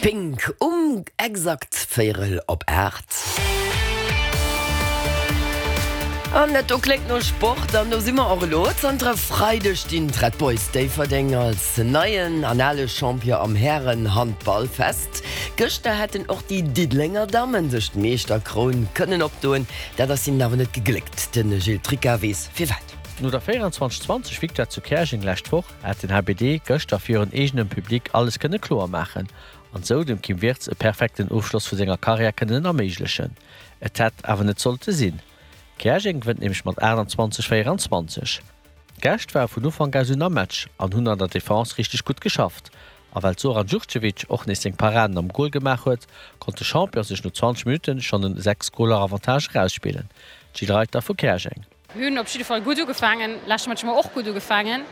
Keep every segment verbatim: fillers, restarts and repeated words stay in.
Pink um exakt véierel op aacht. An dat do kléngt no Sport an do si mer och elo. Zanter e Freideg stinn d'Red Boys Déifferdeng als neien an ale Champion am Härenhandball fest. Gëschter hätten och déi Diddelenger Dammen sech d'Meeschterkroun kënnen opdoen, dat ass hinnen awer net gegléckt. De Gilles Tricca weess firwat. No der véierenzwanzeg zwanzeg Victoire zu Käerjeng lescht Woch hätt den H B D gëschter virun eegenem Public alles kënne kloer maachen an sou dem Kim Wirtz e perfekten Ofschloss vu senger Karriär kënnen erméiglechen. Et hätt awer net sollte sinn. Käerjeng gewënnt nämlech mat aachtanzwanzeg véierenzwanzeg. D'Gäscht ware vun Ufank aus un am Match an hunn an der Defense richteg gutt geschafft. A well Zoran Djurdjevic och nees seng Paraden am Gol gemaach huet, konnt de Champion sech no zwanzeg Minutten schonn en sechs Goler Avantage erausspillen. D'Jill Reiter vu Käerjeng. Mir hunn op jidde Fall gutt ugefaangen, leschte Match hu mer och gutt ugefaangen,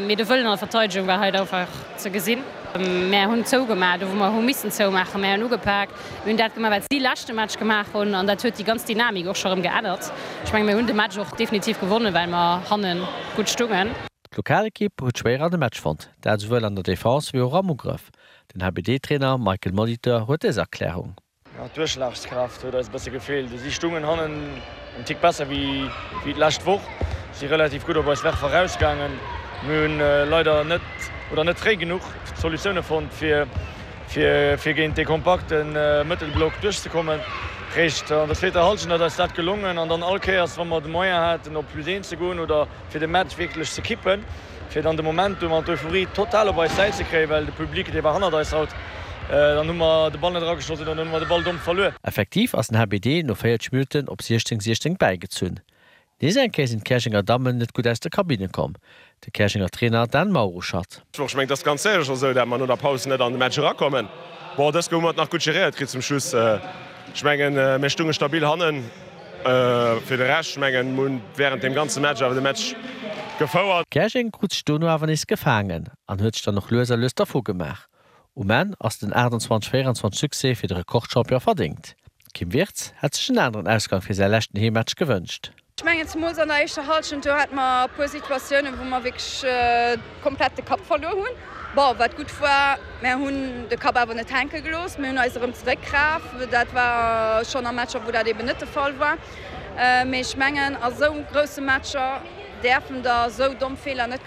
mee de Wëllen an der Verteidegung war hei einfach ze gesinn. Mär hunn zougemaach, do wou mer hu missen zoumaachen, mär hunn ugepak, mir hunn dat gemaach, wat si leschte Match gemaach hunn an dat huet déi ganz Dynamik och scho rëm geännert. Ech menge mir hunn de Match och definitiv gewonnen, well mer hanne gutt stungen. D'Lokalekipp huet schwéier an de Match fonnt, dat esouwuel an der Defense wéi och am Ugrëff. Den H B D-Trainer Michael Molitor huet dës Erklärung. D'Duerchschlagskraaft huet eis e bësse gefeelt. Si stungen hannen en Tick besser wéi wéi d'lescht Woch, si relativ gutt op eis Werfer erausgaangen. Mir hunn leider net oder net fréi genuch Solutioune fonnt, fir fir fir géint dee kompakte Mëttelblock duerchzekommen. Réischt an der zweeter Hallschent ass eis dat gelongen an dann all Kéiers, wa mer de Moyen haten op plus eent ze goen oder fir de Match wierklech ze kippen, fir dann de Momentum an d'Euphorie total op eis Säit ze kréien, well de Public dee war hannert eis haut, dann hu mer de Ball net erageschoss oder dann hu mer de Ball domm verluer. Effektiv ass den H B D no véierzeg Minutten op siechzéng siechzéng bäigezunn. Nees eng Kéier sinn d'Käerjenger Dammen net gutt aus der Kabine komm. De Käerjenger Trainer Dan Mauruschatt. Ech mengen, et ass ganz sécher esou, datt mer no der Paus net an de Match erakommen. Bon, dës hu mer et nach gutt geréiert kritt zum Schluss. Ech mengen, mir stunge stabil hannen. Fir de Rescht, ech mengen, mir hunn wärend deem ganze Match awer de Match gefouert. Käerjeng krut sech dono awer nees gefaangen an huet sech dann och lues a lues dervu gemaach. Um Enn ass den aachtanzwanzeg véierenzwanzeg Succès fir de Rekordchampion verdéngt. D'Kim Wirtz hätt sech en aneren Ausgang fir säi leschten Heemmatch gewënscht. Ech mengen zemools an der éischter Hallschent, do hate mer e puer Situatiounen, wou mer wierklech komplett de Kapp verluer hunn. Bon, wat gutt war, mer hunn de Kapp awer net hänke gelooss, mir hunn eis erëm zeréckgeraf. Dat war schonn a Matcher, wou dat eben net de Fall war. Mee ech mengen a sou grousse Matcher däerfen da sou domm Feeler net.